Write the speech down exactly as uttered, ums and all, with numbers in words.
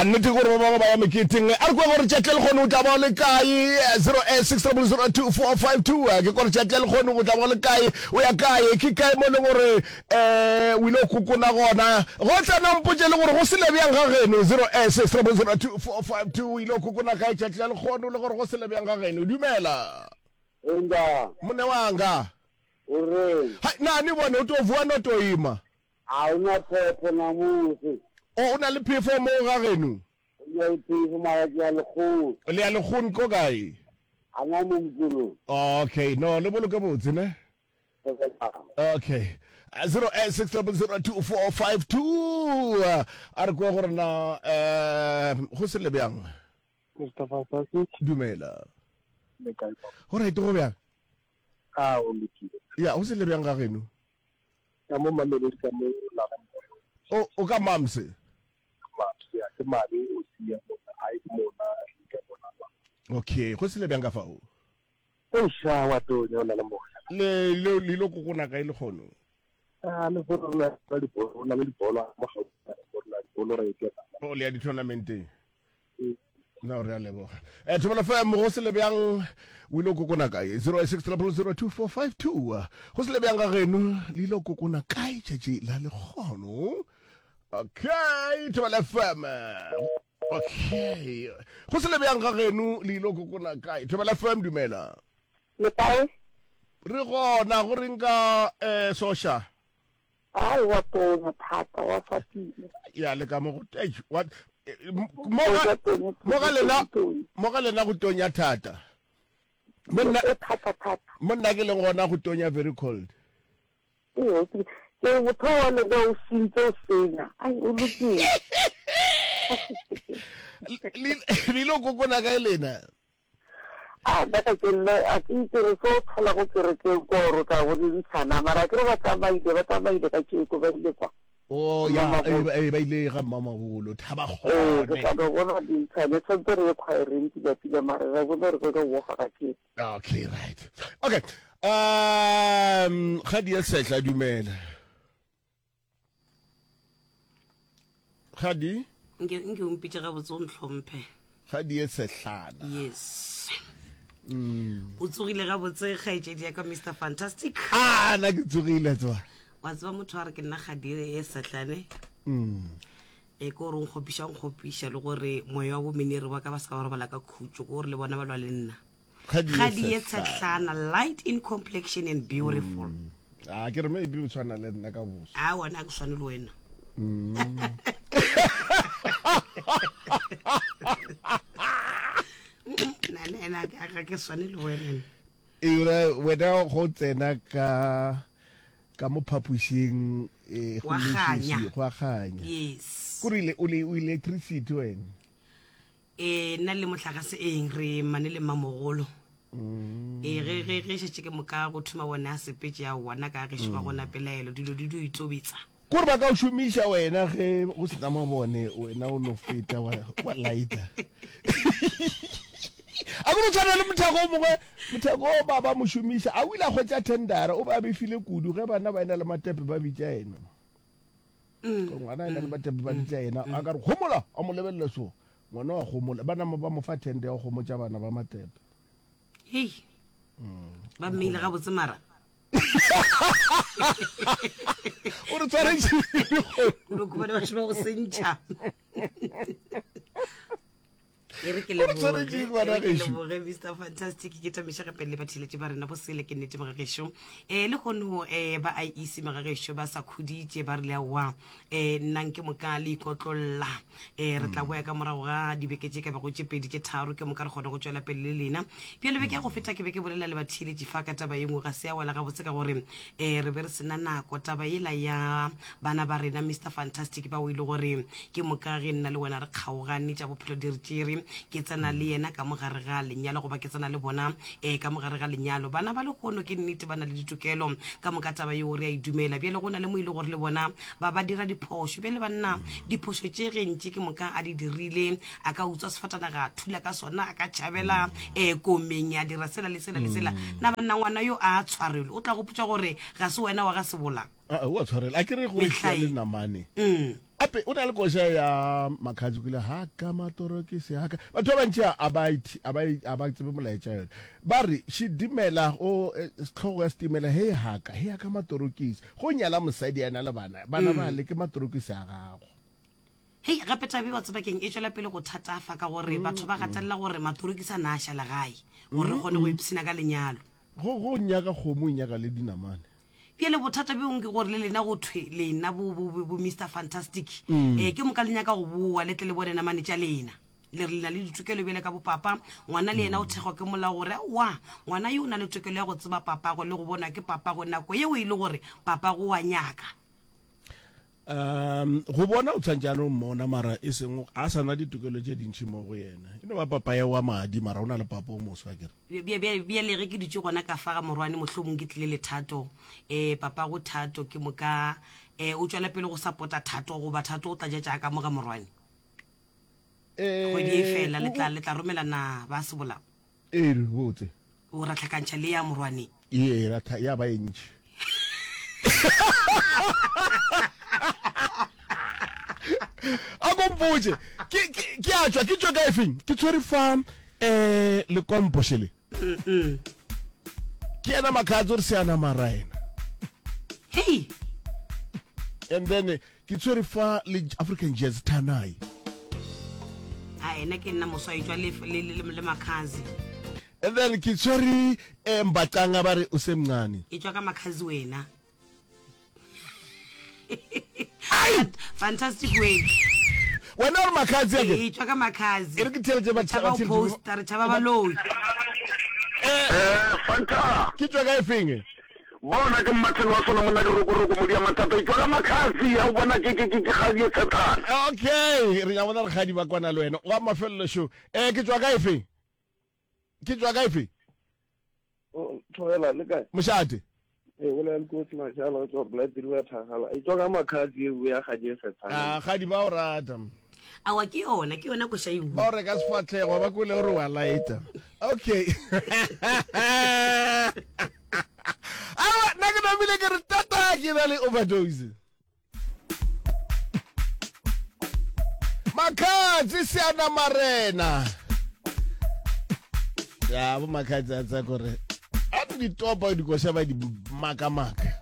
Ya nnete ke gore ba bangwe ba ya meketeng. A re kwe gore tšatši le lekgono o tla ba o le kae. Zero eight six double zero two four five two. Ke gore tšatši le lekgono o tla ba o le kae, o ya kae, ke kae mo e leng gore um o ile go kokona gona. Go tsena mpotše le gore go sele bjang ga geno. Zero eight six double zero two four five two. O ile go kokona kae tšatši la lekgono le gore go sele bjang ga geno. Dumela. Enda. Mone wanga. O reng? Hai, na ni bone o to vuwa no to ima. A o na phepho namusi. O o na le phefo mo ga geno? O na le phefo mara ke ya lekgong. Le ya lekgong ko kae? A na mo mkolong. Okay, no le boloke botse ne. Okay. Zero eight six double zero two four five two. A re kwe gore na eh go sele bjang. Mister Fantastic. Dumela. Le kae papa? Go right go bjang? A o lokile. Ya, go sele bjang ga geno? Ka mo Mamelodi ka mo la ga O o ka Mamse? Mamse, ya ke mabe o sia mona, ai ke mona ka mona ba. Okay, go sele bjang ka fao? O sha wa tonya o na le moya. Le le le lo kokona kae le kgono? Ah, le go rona ba dibolo, na le dibolo mo gaufi, go rona dibolo re ke. O le ya di-tournamenteng. No, re a leboga. Eh, Thobela F M, go sele bjang o ile o kokona kae? zero eight six triple zero two four five two. Go sele bjang ga geno, le ile o kokona kae tšatši la lekgono? Okay, Thobela F M. Okay. Go sele bjang ga geno, le ile o kokona kae? Thobela F M, dumela. Le kae? Re gona, go reng ka eh Sosha? Ai, wa tonya thata, wa fatile. Ya le ka mo go eish, wa mo ga mo ga lena mo ga lena go tonya thata. Mo nna thata thata. Mo nna ke leng gona go tonya very cold. Ee, ke ke motho wa lena o sentse o senya. Ai, o lokile. Le le lo kokona kae lena? A nna ka ke nna a ke itse re so thola go kerekeng ko ro ka go dintshana mara ke re ba tsamaile ba tsamaile ka tšeko ba ile kwa. Oh ya eh ba ile ga mmamabolo thaba gone. Eh ke tla bona dintshane tshwantse re ye choireng pila pila mara re bone re go woga ka tšeko. Okay right. Okay. Um ga di sehla dumela. Gadi? Nke nke o mpitše gabotse o ntlhomphe. Gadi e sehlana. Yes. Mm. O tsogile gabotse kgaetšedi ya ka Mister Fantastic. Ah, na ke tsogile tswa. Wa tseba motho a re ke nna Gadi e sehlane. Mm. E ke gore o nkgopiša nkgopiša le gore moya wa bomenere wa ka ba se ka ba robala ka khutšo ke gore le bona ba lwa le nna. Gadi e tshehlana, light in complexion and beautiful. Mm. Ah, ke re maybe o tshwana le nna ka boso. Ah, wena a ke tshwane le wena. Mm. Nna nna ga ke tshwane le wena. Eura wena go tsena ka ka mo phapošing eh, go Wa leswiswi, kganya. go a kganya. Yes. Kore ile o le o electricity wena. Eh, nna le motlakase eng re mane le mmamogolo. Ee, ge ge ge šetše ke moka go thoma bona a sepetše ya bona ka gešo ga gona pelaelo dilo di dio itobetsa. Kore ba ka o šomiša wena ge go sena mabone wena o no feta wa wa lighter. A go no tshwana le mothako o mongwe mothako o ba ba mo šomiša a o ile a hwetša tendera o be a befile kudu ge bana ba ena le matepe ba bitša yena. Ngwana ena le matepe ba bitša yena a ka re gomola a mo lebelela so ngwana wa gomola ba nama ba mo fa tender ya go gomotša bana ba matepe. Hei. Ba mmeile gabotse mara. O re tshwaretše. O khumane batho ba go sentšha. E re ke O re tshwaretše leboge, ngwana e re ke gešo. leboge Mister Fantastic ke tamiša gape le batheeletši ba rena bosele ke nnete mogagešo. Eh le kgono eh ba I E C mogagešo ba sa khuditše ba rile aowa eh nnang ke moka le ikotlolla. Eh re tla boya ka morago ga dibeke tše ka bego tše pedi tše tharo ke moka re kgone go tšwela pele le lena. Bjale beke ya go feta ke be ke bolela le batheeletši fa ka taba ye nngwe ga se ya wela gabotse ka gore eh re be re sena nako taba yela ya bana ba rena Mister Fantastic bao e le gore ke moka ge nna le wena re kgaogane tša bophelo di re tšere ke tsena le yena ka mogare ga lenyalo goba ke tsena le bona eh ka mogare ga lenyalo. Bana ba lehono ke nnete ba na le ditokelo ka moka taba yeo re a e dumela. Bjale go na le mo e le gore le bona ba ba dira diphošo. Bjale banna diphošo tše gentši ke moka a di dirile a ka utswa sefatanaga a thula ka sona a ka tšhabela eh komeng ya dira sela le sela le sela. Na banna ngwana yo a tshwarelwe o tla gopotša gore ga se wena wa ga sebola. Ah, o a tshwarela a ke re go Mehlae. le namane Mm. ape o na le koša ya Makhadzi kile haka matorokisi haka batho ba bantši a ba ithi- a ba a ba tsebe molaetša yone ba re šidimela o eh, tlhogo ya setimela he haka he haka matorokisi go nyala mosadi a na le bana bana ba le ke matorokisi a gago Hei, gape tabe wa tseba keng e tšwela pele go thatafa ka gore batho ba gatelela gore matorokisi a na a šala gae gore re kgone go ipshina ka lenyalo. go go nyaka kgomo o nyaka le dinamane Bjale bothata bjo ke gore le lena go thwe lena bo, bo, bo, bo Mister Fantastic mm. eh, ke moka le nyaka go boa le tle le bone namane tša lena le re le na le ditokelo bjale ka bopapa ngwana le yena o thekgwa ke molao gore wa ngwana yo o na le tokelo ya go tseba papago le go bonwa ke papago nako yeo e le gore papago wa nyaka um go bona o tshwanetse a no mmona mara e seng a sa na ditokelo tše dintšhi mo go yena e no ba papa ya wa madi mara o na le papa o moswa kere Bja- bja- bjale ge ke dutše gona ka fa ga morwane mohlomong ke tlile le thato um papago thato ke moka um o tswela pele go support-a thato goba thato o tla ja tša ka mo ga morwane kgwedi e fela le tla le tla romelana ba sebolao ee re botse o ra tlhakantšha le ya morwane ee ra tha- ya ba e ntšhi a ko mpotse ke ke- ke a tšwa ke tšwe ka efeng ke tshwere fa um lekompo šele ke yena Makhadzi o re seana mara ena hei and then eh, ke tshwere fa le African Jazz Tanai a ena ke nna moswa e tšwa le, le, le, le Makhadzi and then ke tshwere um mbacanga ba re o se mncane e tšwa ka Makhadzi wena fantastic way wena o re Makhadzi ake e tšwa ka Makhadzi e re ke theletše re tšhaba go posta re tšhaba baloi Eh, Fanta. ke tšwa ka efeng Bona ke Martin wa sona monna dirokoroko modi ya mathata. E tšwa ka Makhadzi ya o bona ke ke ke ke kgadi e tshetlana. Okay re ya bona re kgadi ba kwana le wena wa mafelelo show um ke tšwa ka efeng ke tšwa ka efeng Thobela le kae? Mošate Ee, o le kotsi mashala o tswa Blood River Thagala. E tswa ka Makhadzi e ya kgadi e a kgadi ba o rata awa ke yona ke yona koša e ba o reka sefatlhego ba kwele gore wa laeta okay awa nna ke namile ke re tata ke na le overdose Makhadzi seana marena ya bo Makhadzi a tsa kore a di ditopa dikoša ba di makamaka